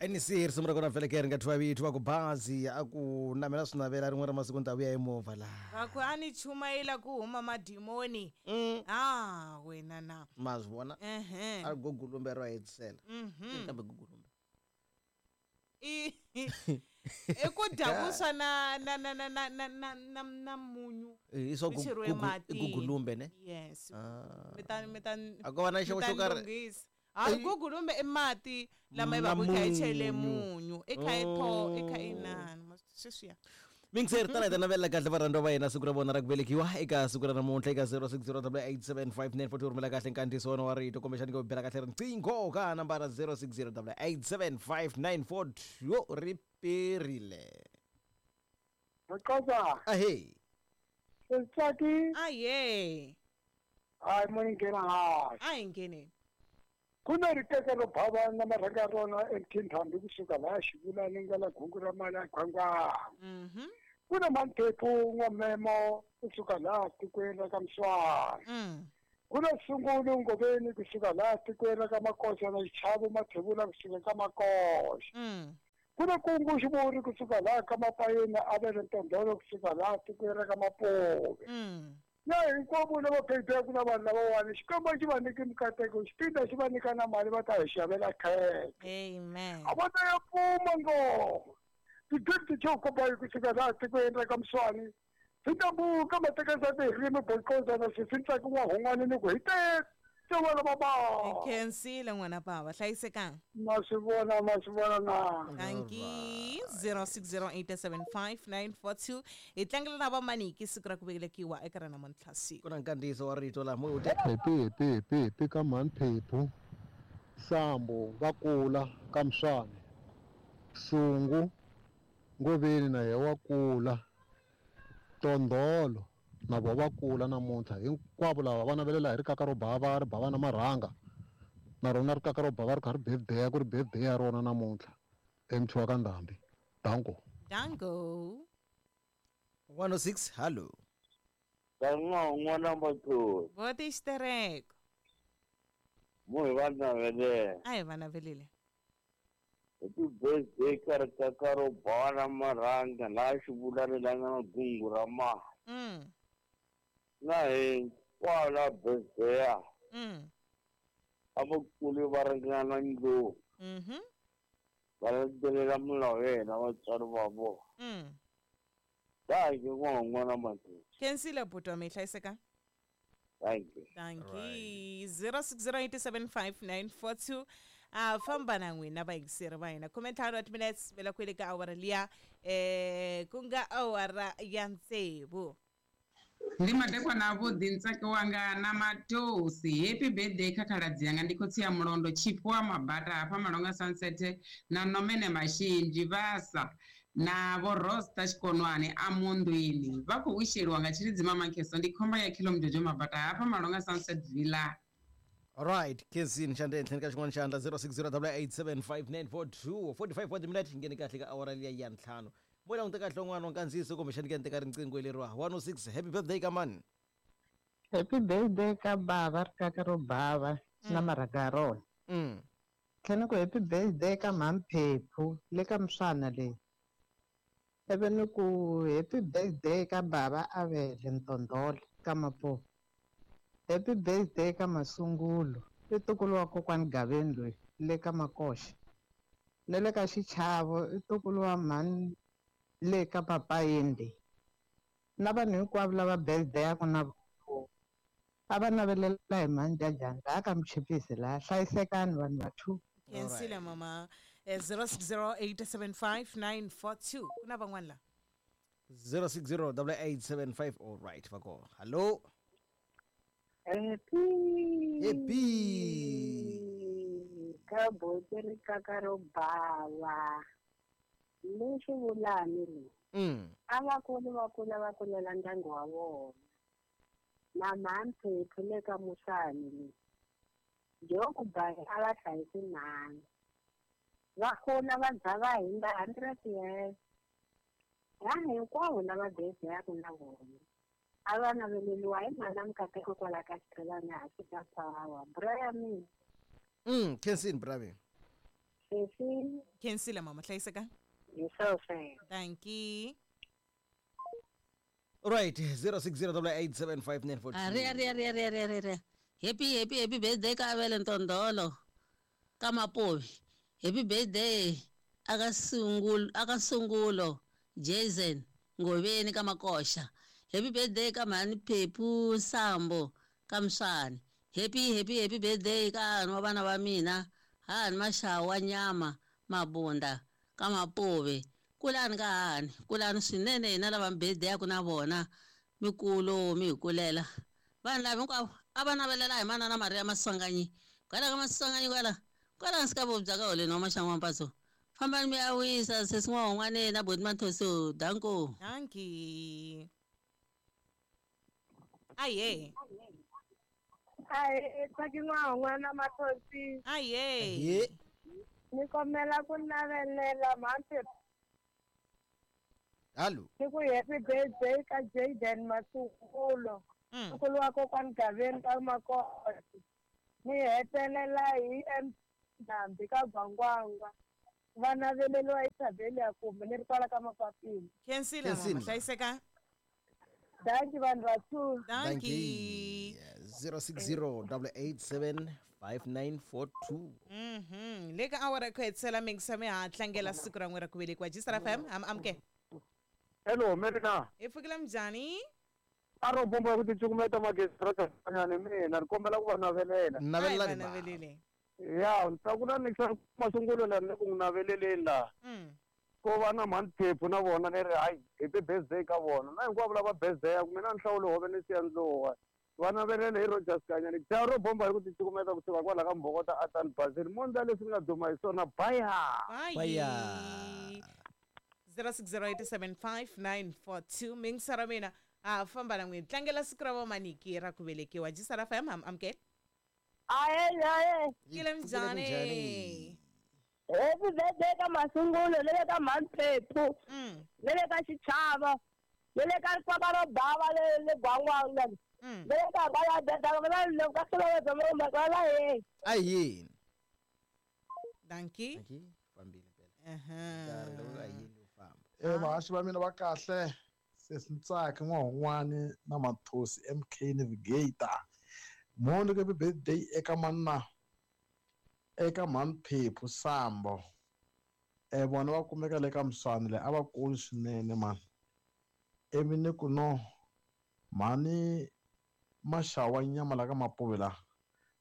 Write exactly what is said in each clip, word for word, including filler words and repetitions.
N C risimu ra kona vhele ke ri nga thwa vito va ku bazi a ku namela swi navela rin'we ra masiku ni ta vuya hi movha laha. Va ku a ni chumayela ku huma madimoni. Mm. Ah, wena na. Ma swi vona? Ehe. A gugulumbe ro hetisela. Mhm. Kambe gugulumbe. I i ku dya vuswa na na na na na na na na na munyu. I swa Swi cheriwe matini. gugulumbe ne? Yes. Ah. Mi ta mi ta A ko va na xo mi ta xo karhi. lunghisa. Hayi gugulumbe i mati lama yi Na va ku i kha yi chele munyu. munyu. I kha yi tho, i kha Oh. i inani. Ma sweswiya. Mingiseri tala hi ta navelela kahle varhandziwa va hina siku ra vona ra ku velekiwa eka siku ra namuntlha eka zero six zero double eight seven five nine four two rhumela kahle nkandziyiso wona wa rito kumbexani ku bela kahle riqingho ka nambara zero six zero double eight seven five nine four two ri perile. Maqoza, Ahee. Setsaki, Aye. hayi mo ni nghena hansi. A hi ngheneni. Ku na rikeke ro bava na marhanga ya rona eMthintambi kusuka laha Xivulani nga la gungu ra mali ya Gwangwana. Mhm. Ku na Manthephu N'wamemo kusuka laha tikweni ra ka Mswani. Mm. Ku na Sungulu Ngoveni kusuka laha tikweni ra ka Makoxa na Xichavo Mathebula kusuka ka Makoxa. Mm. Ku na Kungu Xivuri kusuka laha ka Mapayeni Avele Ntondolo kusuka laha tikweni ra ka Mapuve. Mm. Na hinkwavo lava phepheku na vanhu lavawani Xikwembu xi va nyike mikateko xipinda xi va nyika na mali va ta hi xavela khekhe. Amen. A va ta ya pfuma ngoma. Ti-gift xo komba kusuka laha tikweni ra ka Mswani. Swi tambuka matekeza ririmi bokoza na swi ntsaki n'wahun'wana ni ku hi teke vana va Hi bava. khensile n'wana bava. Hlayisekanga. Ma swi vona ma swi vona na. Thank you. zero six zero eight seven five nine four two. Hi tlangela na vamaniki siku ra ku velekiwa eka ra namuntlha siku. Ku na nkandziyiso wa rito laha mo te Happy happy happy happy ka Mhani Sambo va kula ka Mswani. Sungu Ngoveni na yena wa kula. Tondolo na vona va kula namuntlha hinkwavo lava va navelela hi rikaka ro bava ri bava na marhanga na rona rikaka ro bava ri kha ri birthday ku ri birthday ya rona namuntlha emthiwa ka Ndhambi. Danko. Danko. one oh six hello. N'wana Matholi. Voti xitereko. Mo hi va navelela. A hi va navelele. Happy birthday ka rikaka ro bava na marhanga laha Xivulani la nga na gungu ra mali. Mm. Na hinkwavo la birthday Mm. a va kuli va ringana ndlopfu. Mhm. Va landzelela milawu ya hina vatswari va vona. Mm. Thank you n'wana Matholi. Khensile buti wa mina hlayiseka. Thank you. Thank you. zero six zero eight seven five nine four two. Ah, famba na n'wina vayingiseri va hina. Khume ntlhanu wa timinetse vela kwele ka awara liya eh ku nga awara ya tsevu. Ndi madekwana avhuḓi ntsaki wanga na Matosi. Happy birthday kha khaladzi yanga ndi khotsi ya Mulondo Tshifhiwa Mabata hafha Malonga Sunset na Nomene Mashinzhi Vhasa na vho Rosta Tshikonwane a Mundwini. Vha khou wisheliwa nga Tshilidzi Mamakheso ndi khomba ya Khilo Mjojo Mabata hafha Malonga Sunset Villa. All right, Kezini xandla ehenhleni ka xin'wana xandla zero six zero double eight seven five nine four two forty-five wa timinete ngheni kahle ka awara liya ya ntlhanu. Mo languta kahle un'wana wa nkandziyiso kumbexani ke ni teka riqingho leriwa one oh six happy birthday ka mani. Happy birthday ka bava rikaka ro bava na marhanga ya rona. Mm. Tlhela ku happy birthday ka Mhamphephu le ka Mswana leyi. Ivi ni ku happy birthday ka bava Avele Ntondolo ka Mapuve. Happy birthday ka Masungulo i ntukulu wa kokwani Gaveni loyi le ka Makoxa. Na le ka Xichavo i ntukulu wa mhani le ka Papayeni leyi. Na vanhu hinkwavo lava birthday-aku na a va navelela hi mhani Jajani laha ka Mchipisi laha hlayisekani vanhu va two. Khensile mama. zero six zero eight seven five nine four two. Ku na van'wana la. zero six zero double eight seven five all right va kona. Hello. Happy. Happy. Ka buti rikaka ro bava. Leswi vulani le. Mm. A va kuli va kula va kulela ndyangu wa vona. Na Mhamphephu le ka Musani le. Joko ba a va hlayisi mhani. Va kula va za va hindza hundred years. Vanhu hinkwavo lava birthday-aku na vona. A va naveleliwa hi mhana Mikateko kwala ka Xithelani hansi ka power. Bra ya mina. Mm, Khensini bra mina. Sesi Khensile mama hlayiseka. Hi sweswo. Thank you. Right, zero six zero double eight seven five nine four two. Ari ari ari ari ari ari. Happy happy happy birthday ka Avele Ntondolo ka Mapovi. Happy birthday aka Sungulo aka Sungulo Jason Ngoveni ka Makosha. Happy birthday ka Mhani Phephu Sambo ka Mswani. Happy happy happy birthday ka hanhu wa vana va mina hani Maxawa Nyama Mabunda ka Mapovi. Kulani ka hani kulani swinene hina lava birthday ya ku na vona mikulo mi hi kulela vanhu lava hinkwavo a va navelela hi manana Maria Maswanganyi kwala ka Maswanganyi kwala kwala nsi ka vobya ka holeni wa Maxangu wa Mpatso fambani mi ya wisa sesi n'wahon'waneni na boti Mathoso danko. Dankie. Aye. Aye, tsaki n'wahon'wana Mathosi. Aye. Ni kombela ku navelela mhani. Hallo. Ni ku happy birthday ka Jaden Masungulo. Nkulu wa kokwani Gaveni ka Makosi. Ni hetelela hi M Ndhambi ka Gwangwangwa. Va naveleriwa Isabel ya kumbe ni ri kwala ka Mapapila. Khensile mama hlayiseka. Dankie vanhu va two. Dankie. zero six zero double eight seven five nine four two. Mhm. Le ka awara ku hetisela mingisa mi ha tlangela siku ra n'we ra ku velekiwa. G-Star F M, am amke. Hello, Merina. Hi pfukile minjhani? A ro bomba ku ticukumeta magezi ra tanyana mina ni kombela ku va navelela. Navelelani ba. Navelele. Ya, ni ta ku na ni masungulo la ni ku n'wi naveleleni laha. Mm. Ko va na mhani Phephu na vona ni ri hayi happy birthday ka vona. Na hinkwavo lava birthday ya ku mina ni hlawule hove ni siya ndluwa. Va navelele hi Rogers Kanyani. Dya ro bomba hi ku ticukumeta kusuka kwala ka Mbhokota Atan Basil. Mondla leswi ni nga duma hi swona. Bye. Bye. zero six zero eight seven five nine four two mingisa ra mina a famba na n'wini tlangela siku ra vamaniki ra ku velekiwa. G-Star F M, am amke. Aye aye. Kile minjhani? Happy birthday ka Masungulo le le ka Mhani Phephu. Mm. Le le ka Xichava. Le le ka Rikwaka ro bava le le Gwangwangwa. Mm. Le le ka va la va le ka solo va va la ye. Ayini. Dankie. Dankie. Fambile phela. Aha. Nkarhi lowu ayini wu famba. Eh vahaxi va mina va kahle sesi Ntsaki n'wahon'wani na Mathosi M K Navigator. Mhoni happy birthday eka manna eka Mhani Phephu Sambo. Eh vona va kumeka le ka Mswani le a va kulu swinene mani. Ivi ni ku no mhani Maxawa Nyama la ka Mapovi la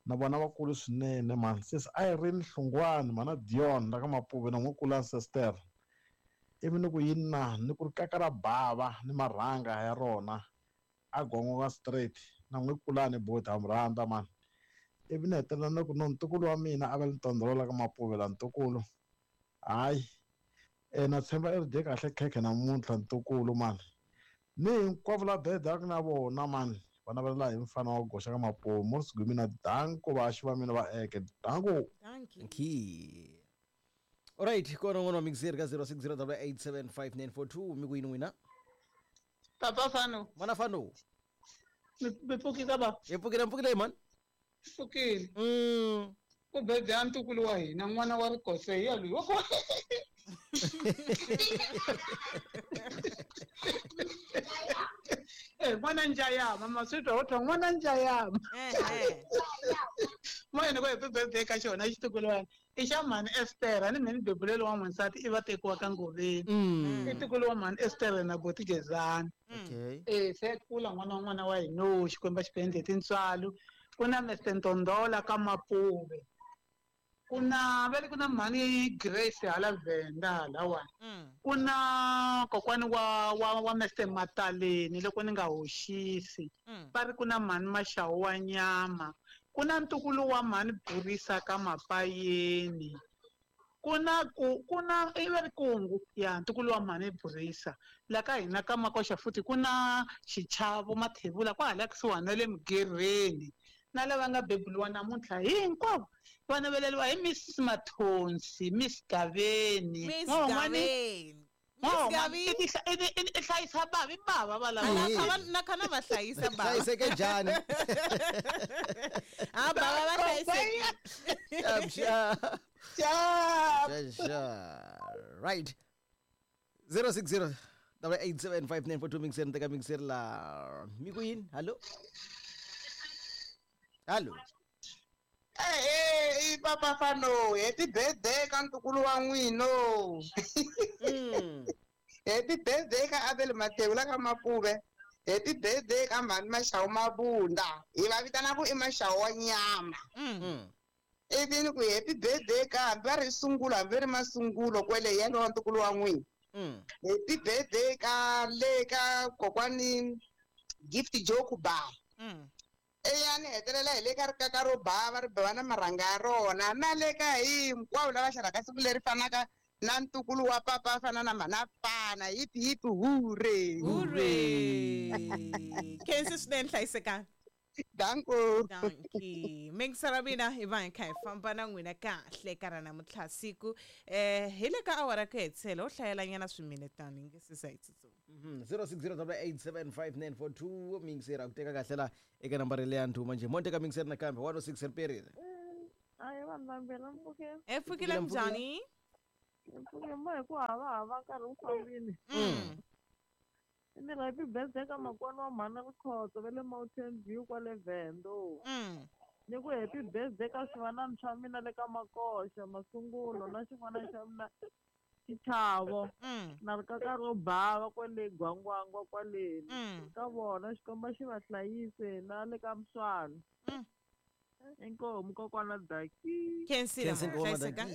na vona va kulu swinene mani. Sesi Irene Hlungwani mana Dion la ka Mapovi na n'wi kula sister. Ivi ni ku yini na ni ku ri kaka ra bava ni marhanga ya rona a Gwangwangwa straight na n'wi kulani boti ha mi rhandza mani. Ivi ni hetelela ni ku no ntukulu wa mina a va le Ntondolo la ka Mapovi la ntukulu. Hayi e na tshemba i ri dye kahle khekhe namuntlha ntukulu mani. Ni hinkwavo la bedaka na vona mani va navelela hi mfana wa goxa ka Mapovi Morris Gumina danko vahaxi va mina va eke danko. Dankie. Dankie. Alright, kona n'wana wa mixer ka zero six zero double eight seven five nine four two mi ku yini n'wina? Papa Fano. Mana Fano. Mi pfukile ba? Hi pfukile mpfukile mani. Pfukile. Mm. Ku birthday ya ntukulu wa hina n'wana wa Rikose ya loyi wa ku Eh n'wana Njayama maswitwa wo twa n'wana Njayama. Eh. Moyeni ku happy birthday ka xona xitukulwana i xa mhani Esther ni mhani bebulelo wa n'wansati i va tekiwa ka Ngoveni. I ntukulu wa mhani Esther na boti Gezani. Okay. Eh se kula n'wana wa n'wana wa hina o Xikwembu xi ku endle tintswalo. Ku na Mister Ntondola ka Mapuve. Ku na va le ku na mhani Grace hala Venda halawani. Ku na kokwani wa wa wa Mister Mataleni loko ni nga hoxisi. Va ri ku na mhani Maxawu wa Nyama. Ku na ntukulu wa mhani Burisa ka Mapayeni. Ku na ku ku na i va ri kungu ya ntukulu wa mhani Burisa. La ka hina ka Makoxa futhi ku na Xichavo Mathebula kwahala kusuhani na le Mugirheni. Na lava nga bebuliwa namuntlha hinkwavo va naveleriwa hi Missus Mathonsi, Miss Gaveni. Miss N'wahon'wani Gaveni. Miss Gaveni. i hlayisa bavi bava va lava. Na khona va hlayisa bava. Hlayiseke njhani? Ah bava va hlayiseke. Xap xap. Ciao. Sure. Right. zero six zero double eight seven five nine four two mixer teka mixer la mi ku yini? Hallo? Hallo? Eh eh i papa fano happy birthday ka ntukulu wa n'wino. Happy birthday ka Abel Mateu la ka Mapuve. Happy birthday ka mhani Maxawu Mabunda. Hi va vitana ku i Maxawu wa nyama. Ivi ni ku happy birthday ka hambi va ri sungulo hambi ri masungulo kwele yena wa ntukulu wa n'wina. Happy birthday ka le ka kokwani Gift Joe Ba. Eya ni hetelela hi le ka rikaka ro bava ri bava na marhanga ya rona na le ka hinkwavo lava xarhaka siku leri fanaka na ntukulu wa papa fana na mhana fana hipi hipi hure hure. Khensi swinene hlayisekani. Danko. Danki. Mingisara mina hi va hi kha hi famba na n'wina kahle ka ra namuntlha siku eh hi le ka awara ku hetisela ho hlayelanyana swiminetani nge se za hi tsutsuma. zero six zero double eight seven five nine four two mixer ku teka kahle la eka nambara leya ndhuma njhe mo teka mixer nakambe one oh six riperile. Ayi vanhu vambirhi mpfukeni. E pfukile njhani? Mpfukeni mo hi ku hava hava nkarhi wu fambile. Ni happy birthday ka makwani wa mhana Rikhotso va le Mountain View kwale Vendo. Ni ku happy birthday ka swivanani swa mina le ka Makoxa Masungulo na xin'wana xa mina Xichavo na rikaka ro bava kwale Gwangwangwa kwaleni ka vona Xikwembu xi va hlayise na le ka Mswana. Inkomu kokwana Daki. Khensile hlayiseka.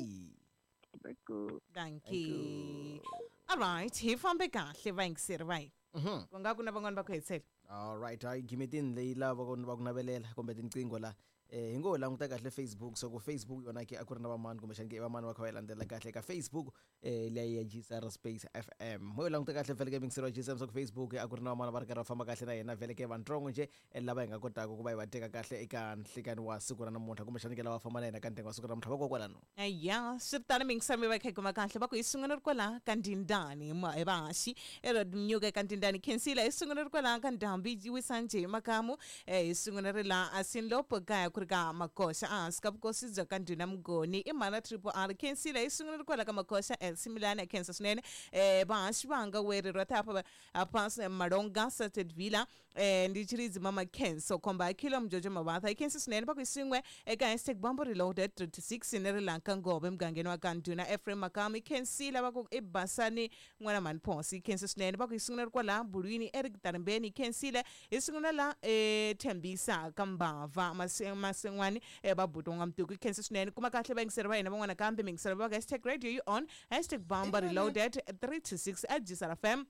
Dankie. All right, hi fambe kahle vayingiseri va hina. Ku nga ku na van'wani va ku hetisela. All right, hayi gimetini leyi lava va ku navelela kumbe tinqingho la eh hi ngo languta kahle Facebook so ku Facebook yona ke a ku ri na vamani kumbexani ke i vamani va kha va yi landzela kahle ka Facebook eh leyi ya G S R Space F M mo yi languta kahle vhele ke mixer wa G S M so ku Facebook a ku ri na vamani va ri karhi va famba kahle na yena vhele ke vantsongo nje lava hi nga kotaka ku va hi va teka kahle eka nhlikani wa siku ra namuntlha kumbexani ke lava famba na yena ka ntengo wa siku ra namuntlha vakokwalano. Ya swi ri tano mingisero mi va kha hi kuma kahle va ku hi sungula ri kwala ka Ndindani hi vahaxi erodmnyuka eka Ndindani Khensile hi sungula ri kwala ka Ndhambi Wisanje Makamu hi sungula ri la Asinlopo kaya ku ri ka Makoxa ehansi ka vukosi bya ka Ndhuna Mugoni i mhana Triple R Khensile hi sungula ri kwala ka Makoxa Similana khensa swinene eh vahaxi vanga weri ra thapa haphansi Malonga Sated Villa eh ndi chiridzi mama Khenso komba akhilo Mjojo Mabatha i khensa swinene va ku hi swin'we eka hashtag Bambo Reloaded thirty-six ni ri lanka Ngobe emugangeni wa ka Ndhuna Ephraim Makami Khensile va ku i Basani n'wana mhani Phosi khensa swinene va ku hi sungula ri kwala Bulwini Eric Tarimbeni Khensile hi sungula la eh Thembisa ka Mbava Masen'wani va butonga Mtuku khensa swinene kuma kahle vayingiseri va hina van'wana kambe mingiseri va ka hashtag radio you on hashtag Bambo Reloaded three two six at G S R F M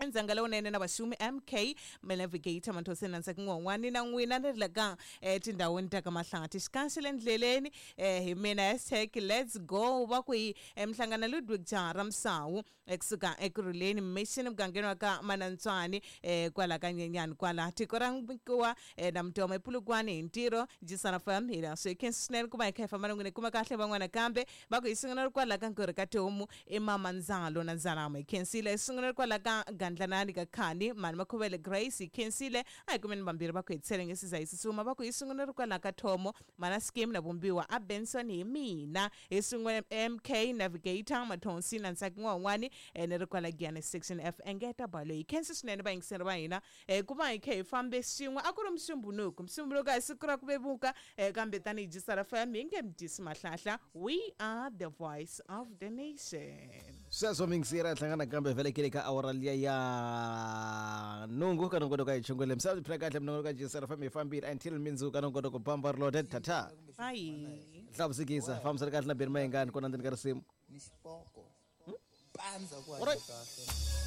ndzanga lowunene na vaxumi M K Navigator Manthoseni na Ntsaki N'wan'wani na n'wina ni ri la ka etindhawini ta ka Mahlathi xikanxe le ndleleni hi mina hashtag let's go va ku hi Mhlangana Ludwig Jara Msawu ekusuka Ekurhuleni Mission mugangeni wa ka Manantswani kwala ka Nyenyani kwala tiko ra Nkuwa na Mtoma ePulukwane hi ntirho G S R F M hi leswi khensa swinene ku va hi kha hi famba na n'wina kuma kahle van'wana kambe va ku hi sungula ri kwala ka Nkurhi ka Tihomu i Mama Ndzalo na Ndzalama hi khensile hi sungula ri kwala ka Gandlanani ka Khani mani Makhuvele Grace hi khensile a hi kumeni vambirhi va ku hetisele nge siza hi tsutsuma va ku hi sungula ri kwala ka Thomo mana Scheme na Vumbiwa a Benson hi mina hi sungula M K Navigator Mathonsi na Ntsaki N'wan'wani ni ri kwala Giyani section F engeta balo hi khensa swinene vayingiseri va hina ku va hi kha hi fambe swin'we a ku ri Musumbhunuku Musumbhunuku a hi siku ra ku vevuka kambe tanihi G S R F M hi nge mi dyisi mahlahla we are the voice of the nation. Sweswo mingisera hlangana kambe vhele ke le ka awara liya ya nungu ka nongonoko ka hi chungwele misava phila kahle minongonoko ka G S R F M hi fambile until mindzuku ka nongonoko Bamba Reloaded tata bye hlavusikisa fambisana kahle na Beni Mayengani kona ndzeni ka risimu ni xipoko pandza ku Alright. kahle.